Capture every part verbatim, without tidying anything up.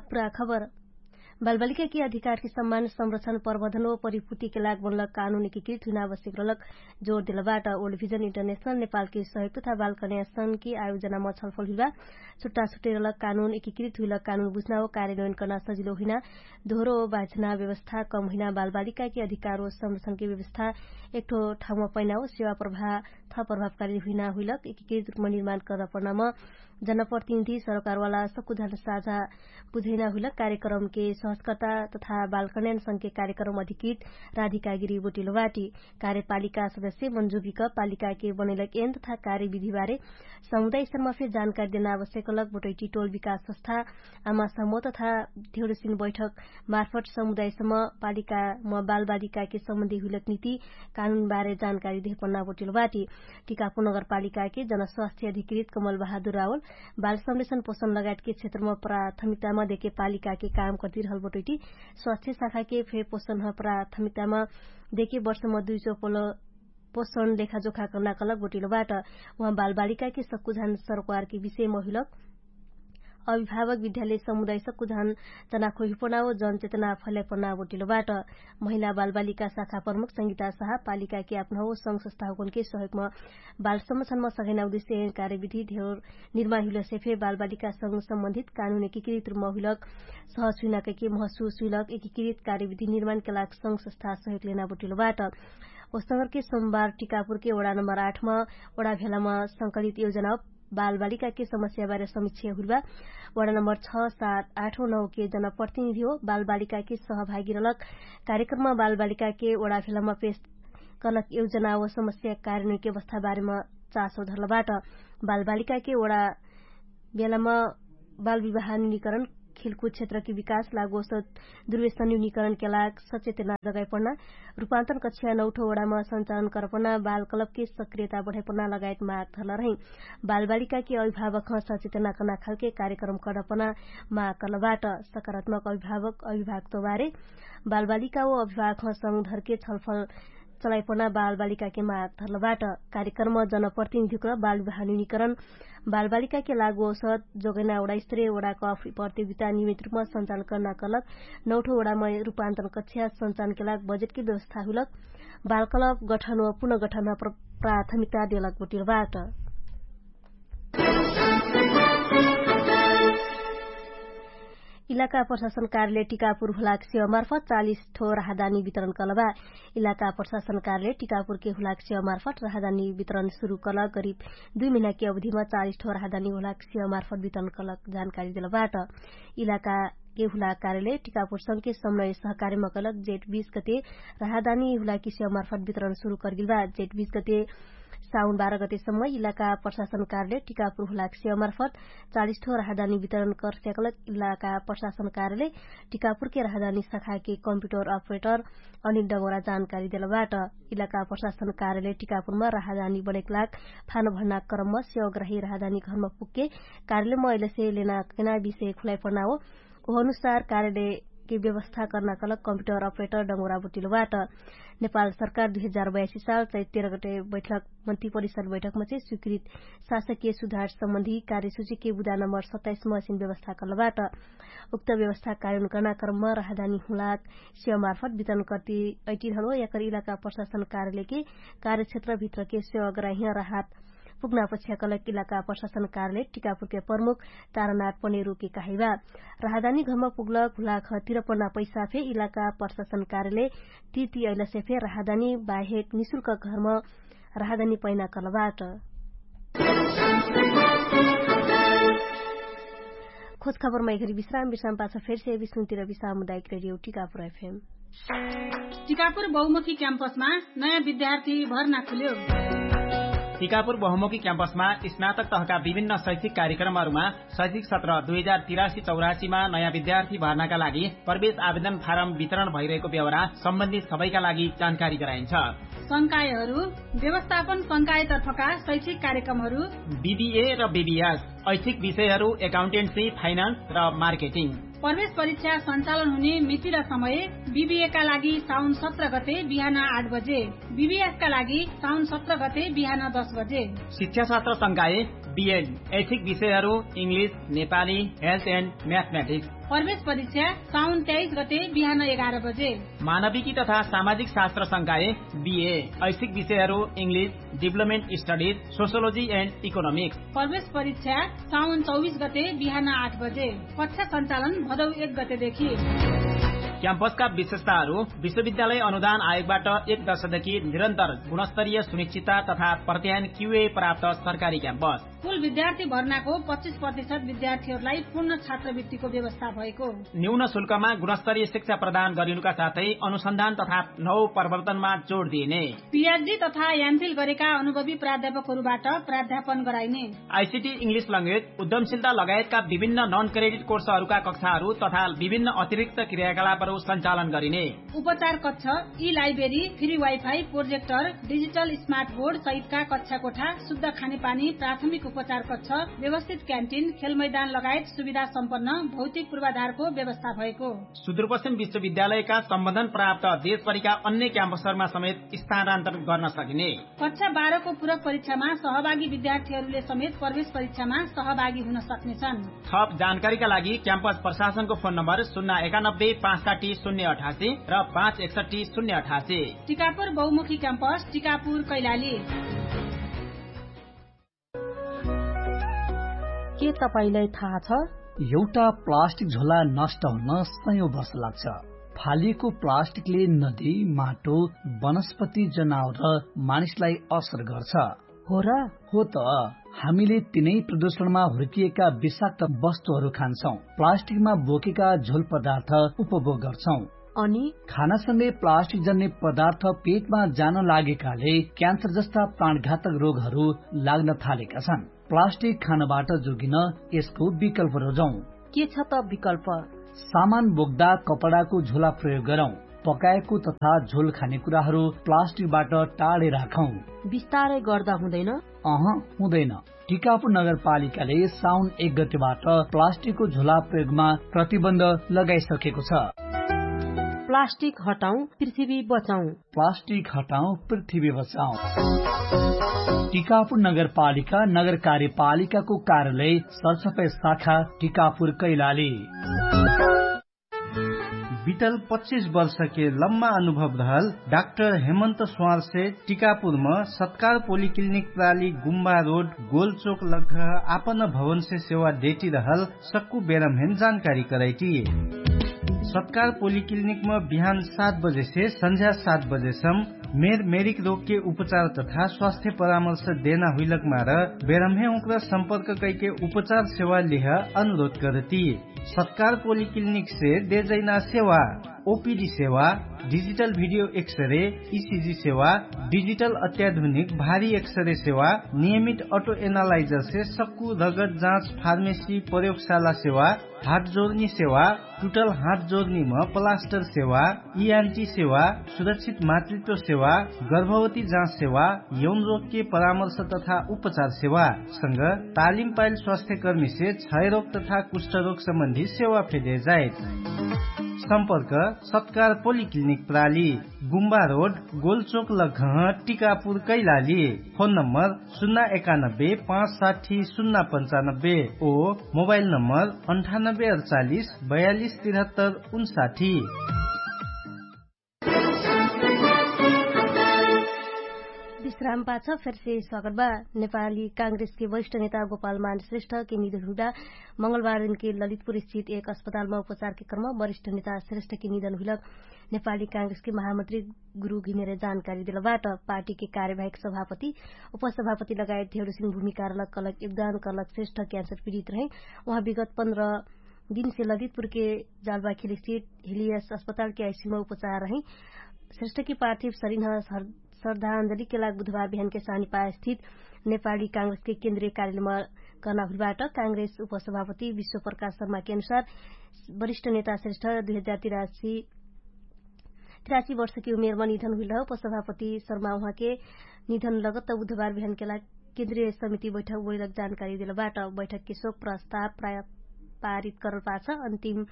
पुरा खबर। बालबालिकाके अधिकारके सम्मान संरक्षण प्रबन्धन व परिपूर्तिके लाग बनलक कानुन एकीकृत हुइना आवश्यक रहलक। जोर देलबाट ओल्ड भिजन इन्टरनेशनल नेपालके सहयोग तथा बालकन्या संघके आयोजनामा छलफल हुइबा। छुट्टा छुट्टै रहलक कानुन एकीकृत हुइलक कानुन बुझ्ना व कार्यान्वयन कर्ना सजिलो हुइना, दोहरो बाझना व्यवस्था कम हुइना बालबालिकाके अधिकार व संरक्षणके व्यवस्था एकठो ठाउँमा पैना व सेवा प्रभाव थप प्रभावकारी हुइना हुइलक एकीकृत रूपमा निर्माण कर्ना पर्नामा जनप्रतिनिधि सरकारवाला सक्कुझान साझा बुझैना हुइलक कार्यक्रमके सहजकर्ता तथा बालकन्यान संघके कार्यक्रम अधिकृत राधिकागिरी बोटिलो बाटी। कार्यपालिका सदस्य मन्जुबिक पालिकाके बनैलक एन तथा कार्यविधिबारे समुदाय स्तरमा फेर जानकारी देना आवश्यक लक बोटैटी टोल विकास संस्था आमा समूह तथा धेउरसिन बैठक मार्फट समुदाय सम्म पालिकामा बालबालिकाके सम्बन्धी हुइलक नीति कानुनबारे जानकारी देहपन्ना बोटिलो बाटी। टिकापुर नगरपालिकाके जनस्वास्थ्य अधिकृत कमल बहादुर रावल बाल संरक्षण पोषण लगायतके क्षेत्रमा प्राथमिकतामा देके पालिकाके काम कर्तिरहल बोटैटी स्वास्थ्य शाखाके फे पोषण प्राथमिकतामा देके वर्षमा दुई चोपल पोषण लेखाजोखा कर्ना कलक बोटिलो बाट। उहाँ बालबालिकाके सक्कुझान सरकारके विषयमा हुइलक अभिभावक विद्यालय समुदाय सक्कुझान जना खोहिपना व जनचेतना फैलाइपना बोटिलो बाट। महिला बालबालिका शाखा प्रमुख संगीता शाह पालिकाके आप्ना हो संघ संस्था होकनके सहयोगमा बाल संरक्षणमा सघैना उद्देश्य कार्यविधि धेर निर्माण हुइलसे फे बालबालिका संग सम्बन्धित कानुन एकीकृत रूपमा हुइलक सहज हुइना कैके महसुस हुइलक एकीकृत कार्यविधि निर्माणके लाग संघ संस्था सहयोग लेना बोटिलो बाट। ओस्तगरके सोमबार टिकापुरके वडा नम्बर आठमा वडा भेलामा संकलित योजना बालबालिकाके समस्याबारे समीक्षा हुइलबा। वडा नम्बर छ सात आठो नौके जनप्रतिनिधि हो बालबालिकाके सहभागी रहलक कार्यक्रममा बालबालिकाके वडा भेलामा पेश कर्लक योजना व समस्या कार्यनके अवस्थाबारेमा चासो धरलबाट। बालबालिकाके वडा बेलामा बालविवाह न्यूनीकरण खेलकुद क्षेत्रके विकास लागोस दुर्वेशन न्यूनीकरणके लाग सचेतना जगाइपण्ना रूपान्तरण कक्षा नौठो वडामा सञ्चालन करपण्ना बालकलपके सक्रियता बढाइपण्ना लगायत माग धरल रहिँ। बालबालिकाके अभिभावकह सचेतना कर्ना खालके कार्यक्रम कर्नपण्ना माग कर्लबाट। सकारात्मक अभिभावक अभिभावकत्वबारे बालबालिका व अभिभावकह संग धरके छलफल चलाइपण्ना बालबालिकाके माग धरलबाट। कार्यक्रम जनप्रतिनिधिक बालविवाह न्यूनीकरण बालबालिकाके लागु औसत जोगैना वडा स्तरीय वडा कफ प्रतियोगिता नियमित रूपमा सञ्चालन कर्ना कलक नौठो वडामा रूपान्तरण कक्षा सञ्चालनके लाग बजेटके व्यवस्था हुइलक बालकलप गठन व पुनर्गठनमा प्राथमिकता देलक बोटिलबाट। इलाका प्रशासन कार्यालय टिकापुर हुलाक सेवा मार्फत चालिस ठो राहदानी वितरण कलबा। इलाका प्रशासन कार्यालय टिकापुरके हुलाक सेवा मार्फत राहदानी वितरण सुरु कलक गरिब दुई महिनाके अवधिमा चालिस ठो राहदानी हुलाक सेवा मार्फत वितरण कलक जानकारी देलबाट। इलाकाके हुलाक कार्यालय टिकापुर संके समनय सहकार्यमा कलक जेठ बीस गते राहदानी हुलाकी सेवा मार्फत वितरण सुरु करगिलबा। जेठ बीस गते साउन बाह्र गतेसम्म इलाका प्रशासन कार्यालय टिकापुर हुलाक सेवा मार्फत चालिस ठो राहदानी वितरण करस्याकलक इलाका प्रशासन कार्यालय टिकापुरके राहदानी शाखाके कम्प्युटर अपरेटर अनिल डगोरा जानकारी देलबाट। इलाका प्रशासन कार्यालय टिकापुरमा राहदानी बनेक लाग फान भर्ना क्रममा सेवाग्राही राहदानी घरमा पुगके कार्यालयमा अइलसे लेना कैना विषय खुलाइ पर्ना हो। ओहनुसार कार्यालयके व्यवस्था कर्ना कलक कम्प्युटर अपरेटर डगोरा बोटिलबाट। नेपाल सरकार दुई हजार बयासी साल चैत तेह्र गटे बैठक मन्त्री परिषद बैठकमा चाहिँ स्वीकृत शासकीय सुधार सम्बन्धी कार्यसूचीके बुदा नम्बर सत्ताइसमा असिन व्यवस्था कर्लबाट। उक्त व्यवस्था कार्यान्वयन कर्ना क्रममा राहदानी हुलाक सेवा मार्फत वितरण कर्ती ऐटिरहलो याकर इलाका प्रशासन कार्यालयके कार्यक्षेत्रभित्रके सेवाग्राही राहत पुग्ना पछ्याकलक इलाका प्रशासन कार्यालय टिकापुरके प्रमुख तारानाथ पनेरुके कहाइबा। राहदानी घरमा पुग्लक हुलाक तिरपना पैसा फे इलाका प्रशासन कार्यालय तिर्ती अइलसे फे राहदानी बाहेक निशुल्क घरमा राहदानी पैना कलबाट। खोजखबरमा एघरी विश्राम विश्राम पाछ फेरसे विष्णुतिर विश्राम मुदायक रेडियो टिकापुर एफएम। टिकापुर बहुमुखी क्याम्पसमा नयाँ विद्यार्थी भर्ना खुल्यो। टिकापुर बहुमुखी क्याम्पसमा स्नातक तहका विभिन्न शैक्षिक कार्यक्रमहरूमा शैक्षिक सत्र दुई हजार तिरासी चौरासीमा नयाँ विद्यार्थी भर्नाका लागि प्रवेश आवेदन फारम वितरण भइरहेको बेहोरा सम्बन्धित सबैका लागि जानकारी गराइन्छ। संकायहरू व्यवस्थापन संकायतर्फका शैक्षिक कार्यक्रमहरू बिबिए र बिबिएस ऐच्छिक विषयहरू एकाउन्टेन्सी, फाइनान्स र मार्केटिङ। प्रवेश परीक्षा सञ्चालन हुने मिति र समय बिबिएका लागि साउन सत्र गते बिहान आठ बजे, बिबिएफका लागि साउन सत्र गते बिहान दस बजे। शिक्षाशास्त्र संकाय, बिएड, ऐच्छिक विषयहरू इङ्ग्लिस, नेपाली, हेल्थ एन्ड म्याथमेटिक्स। प्रवेश परीक्षा साउन तेइस गते बिहान एघार बजे। मानविकी तथा सामाजिक शास्त्र संकाय, बिए, ऐच्छिक विषयहरू इङ्ग्लिस, डिभलपमेन्ट स्टडिज, सोसियोलोजी एन्ड इकोनोमिक्स। प्रवेश परीक्षा साउन चौबिस गते बिहान आठ बजे। कक्षा सञ्चालन भदौ एक गतेदेखि। क्याम्पसका विशेषताहरू। विश्वविद्यालय अनुदान आयोगबाट एक दशकदेखि निरन्तर गुणस्तरीय सुनिश्चितता तथा प्रत्यायन क्युए प्राप्त सरकारी क्याम्पस। कुल विद्यार्थी भर्नाको पच्चिस प्रतिशत विद्यार्थीहरूलाई पूर्ण छात्रवृत्तिको व्यवस्था भएको। न्यून शुल्कमा गुणस्तरीय शिक्षा प्रदान गरिनुका साथै अनुसन्धान तथा नौ प्रवर्तनमा जोड दिइने। पिएचडी तथा एमफिल गरेका अनुभवी प्राध्यापकहरूबाट प्राध्यापन गराइने। आइसिटी इङ्ग्लिस ल्याङ्ग्वेज, उद्यमशीलता लगायतका विभिन्न नन क्रेडिट कोर्सहरूका कक्षाहरू तथा विभिन्न अतिरिक्त क्रियाकलापहरू सञ्चालन गरिने। उपचार कक्ष, ई library, free wifi, projector, digital smart board सहितका कक्षा कोठा, शुद्ध खानेपानी, प्राथमिक उपचार कक्ष, व्यवस्थित क्यान्टिन, खेलमैदान लगायत सुविधा सम्पन्न भौतिक पूर्वाधारको व्यवस्था भएको। सुदूरपश्चिम विश्वविद्यालयका सम्बन्धन प्राप्त देशभरिका अन्य क्याम्पसहरूमा समेत स्थानान्तरण गर्न सकिने। कक्षा बाह्रको पूरक परीक्षामा सहभागी विद्यार्थीहरूले समेत प्रवेश परीक्षामा सहभागी हुन सक्नेछन्। थप जानकारीका लागि क्याम्पस प्रशासनको फोन नम्बर शून्य एकानब्बे पाँच साठी शून्य अठासी र पाँच एकसट्ठी शून्य अठासी। टिकापुर बहुमुखी क्याम्पस, टिकापुर कैलाली। के तपाईंलाई थाहा छ? एउटा प्लास्टिक झोला नष्ट हुन सयौं वर्ष लाग्छ। फालिएको प्लास्टिकले नदी, माटो, वनस्पति, जनावर र मानिसलाई असर गर्छ। हो र? हो त। हामीले तिनै प्रदूषणमा हुर्किएका विषाक्त वस्तुहरू खान्छौं, प्लास्टिकमा बोकेका झोल पदार्थ उपभोग गर्छौं। अनि खानासँगै प्लास्टिक जन्ने पदार्थ पेटमा जान लागेकाले क्यान्सर जस्ता प्राणघातक रोगहरू लाग्न थालेका छन्। प्लास्टिक खानबाट जोगिन यसको विकल्प रोजौं। के छ त विकल्प? सामान बोक्दा कपडाको झोला प्रयोग गरौं। पकाएको तथा झोल खाने कुराहरू प्लास्टिकबाट टाढे राखौं। बिस्तारै गर्दा हुँदैन? अह, हुँदैन। टिकापुर नगरपालिकाले साउन एक गतिबाट प्लास्टिकको झोला प्रयोगमा प्रतिबन्ध लगाइसकेको छ। प्लास्टिक हटाउँ, पृथ्वी बचाउँ। प्लास्टिक हटाउँ, पृथ्वी बचाउँ। टिकापुर नगरपालिका, नगर कार्यपालिकाको कार्यालय, सरसफाइ शाखा, टिकापुर कैलाली। बितल पच्चिस वर्षके लम्मा अनुभव रहल डाक्टर हेमन्त स्वारसे टिकापुरम सत्कार पोलिक्लिनिक प्राली गुम्बा रोड गोलचोक लग्घ आपन भवनसे सेवा देटी रहल सक्कु बेरमहेन जानकारी करैटी। सत्कार पोलिक्लिनिकम बिहान सात बजेसे सन्झ्या सात बजेसम मेर मेरिक रोगके उपचार तथा स्वास्थ्य परामर्श देना हुइलक मार बेरमहे उक्र सम्पर्क कैके उपचार सेवा लिह अनुरोध करती। सत्कार पोलिक्लिनिकसे देजैना सेवा, ओपिडी सेवा, डिजिटल भिडियो एक्सरे, इसिजी सेवा, डिजिटल अत्याधुनिक भारी एक्सरे सेवा, नियमित अटो एनालाइजरसे सक्कु रगत जाँच फार्मेसी प्रयोगशाला सेवा, हात जोर्नी सेवा, टुटल हात जोर्नीम पलास्टर सेवा, इआन्टी सेवा, सुरक्षित मातृत्व सेवा, गर्भवती जाँच सेवा, यौन रोगके परामर्श तथा उपचार सेवा संग तालिम पाइल स्वास्थ्यकर्मीसे क्षयरोग तथा कुष्ठरोग सम्बन्धी सेवा फेदे जाइत। सम्पर्क सत्कार पोलिक्लिनिक प्राली, गुम्बा रोड, गोलचोक लग्घह, टिकापुर कैलाली। फोन नम्बर सुन्ना एकानब्बे पाँच साठी सुन्ना पन्चानब्बे ओ मोबाइल नम्बर अन्ठानब्बे अडचालिस बयालिस तिरहत्तर उन्साठी। विश्राम पाछ फेरसे स्वागत बा। नेपाली कांग्रेसके वरिष्ठ नेता गोपाल मान श्रेष्ठके निधन हुइबा मंगलबार दिनके ललितपुर स्थित एक अस्पतालमा उपचारके क्रम वरिष्ठ नेता श्रेष्ठके निधन हुइलक नेपाली कांग्रेसके महामन्त्री गुरु घिमिरे जानकारी देलबाट। पार्टीके कार्यवाहिक सभापति, उपसभापति लगायत धेरु सिन भूमिका रहलक कहलक योगदान कहलक श्रेष्ठ क्यान्सर पीडित रहे। उहाँ विगत पन्ध्र दिनसे ललितपुरके जालबाखेल स्थित हिलियस अस्पतालके आइसीमा उपचार रहे। श्रेष्ठके पार्थिव शरीर श्रद्धाञ्जलीके लाग बुधबार बिहानके सानिपा स्थित नेपाली कांग्रेसके केन्द्रीय कार्यालयमा कर्ना हुइबाट। कांग्रेस उपसभापति विश्वप्रकाश शर्माके अनुसार वरिष्ठ नेता श्रेष्ठ दुई हजार तिरासी तिरासी वर्षके उमेरमा निधन हुइल रह। उपसभापति शर्मा उहाँके निधन लगत बुधबार बिहानके लाग केन्द्रीय समिति बैठक बोइलक जानकारी देलबाट। बैठकके शोक प्रस्ताव पारित करल पाछ अन्तिम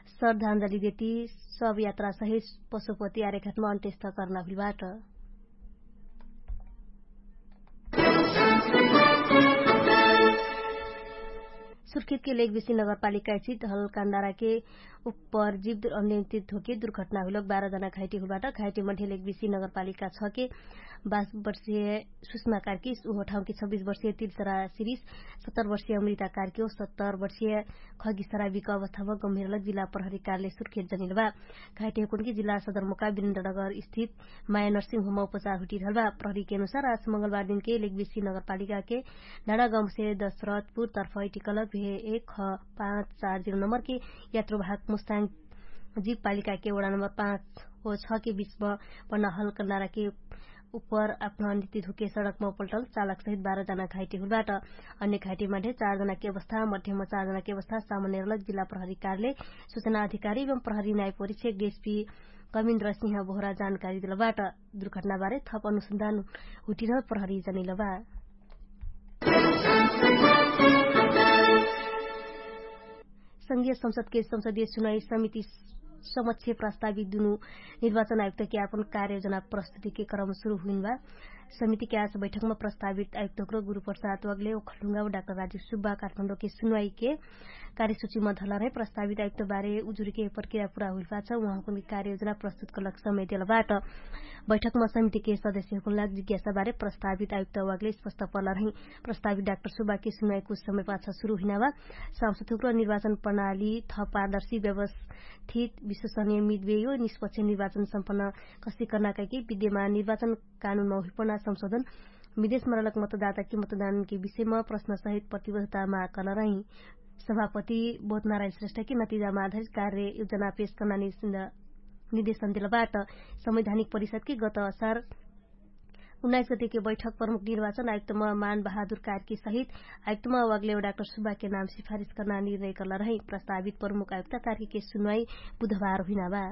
श्रद्धाञ्जली देती सब यात्रा सहित पशुपति आर्यघाटमा अन्त्यस्त करना हुइलबाट। सुर्खेतके लेगबेसी नगरपालिका चित हलकान्दाराके उप्पर जिब्द अनियन्त्रित होके दुर्घटना हुइलक बाह्र जना घाइटे हुइलबाट। घाइटे मध्ये लेगबेसी नगरपालिका छके बास वर्षीय सुषमा कार्की उहो ठाउँके छब्बिस वर्षीय तिर्सरा सिरिस सत्तर वर्षीय अमृता कार्की ओ सत्तर वर्षीय खगिसरा बिक अवस्थामा गम्भीरलक जिल्ला प्रहरी कार्यालय सुर्खेत जनिलबा। घाइटे हुकुनके जिल्ला सदरमुका बिरेन्द्रनगर स्थित माया नर्सिङ होममा उपचार हुटिरहलबा। प्रहरीके अनुसार आज मंगलबार दिनके लेगबेसी नगरपालिकाके डाँडा गाउँसे दशरथपुर तर्फ इटिकलक भे एक ख पाँच चार जिरो नम्बरके यात्रुभाग मुस्ताङ जीवपालिकाके वडा नम्बर पाँच हो छके बिचमा पन्ना हलकन्दाराके उप्पर अपना निति धुके सडकमा उपल्टल चालक सहित बाह्र जना घाइटे हुलबाट। अन्य घाइटेमा ढे चार जनाके अवस्था मध्यमा चार जनाके अवस्था सामान्य रलक जिल्ला प्रहरी कार्यालय सुचना अधिकारी एवं प्रहरी नायपोरी छेक डिएसपी कमिन्द्र सिंह बोहरा जानकारी दिलबाट। दुर्घटनाबारे थप अनुसन्धान हुटिरह प्रहरी जनिलबा। संघीय संसदके संसदीय सुनाई समिति समक्ष प्रस्तावित दुनु निर्वाचन आयुक्तके आपन कार्ययोजना प्रस्तुतिके क्रम सुरु हुइनबा। समितिके आज बैठकमा प्रस्तावित आयुक्तक्र गुरुप्रसाद वगले ओखलुङ्गा डाक्टर राजु सुब्बा काठमाडौँके सुनाईके कार्यसुचिमा धलरहे प्रस्तावित आयुक्तबारे उजुरीके प्रक्रिया पुरा हुइलपाछ उहाँकुनके कार्ययोजना प्रस्तुत कलक समय देलबाट। बैठकमा समितिके सदस्यकुनलाग जिज्ञासाबारे प्रस्तावित आयुक्त वगले स्पष्ट पलरहे। प्रस्तावित डाक्टर सुब्बाके सुनाई कुछ समय पाछ सुरु हुइनाबा। सांसदहुक्र निर्वाचन प्रणाली थप पारदर्शी व्यवस्थित विश्वसनीय मितबेयो निष्पक्ष निर्वाचन सम्पन्न कस्ती कर्ना कैकी विद्यमान निर्वाचन कानुनमा हुइपना संशोधन विदेशमा रलक मतदाताके मतदानके विषयमा प्रश्नसहित प्रतिबद्धता माग कर्ना रही। सभापति बोधनारायण श्रेष्ठके नतिजामा आधारित कार्य योजना पेश कर्ना निर्देशन देलबाट। संवैधानिक परिषदके गत असार उन्नाइस गतिके बैठक प्रमुख निर्वाचन आयुक्तमा मान बहादुर कार्की सहित आयुक्तमा वागलेव डाक्टर सुब्बाके नाम सिफारिस कर्ना निर्णय कर्ला रही। प्रस्तावित प्रमुख आयुक्त कार्कीके सुनवाई बुधबार हुइनाबा।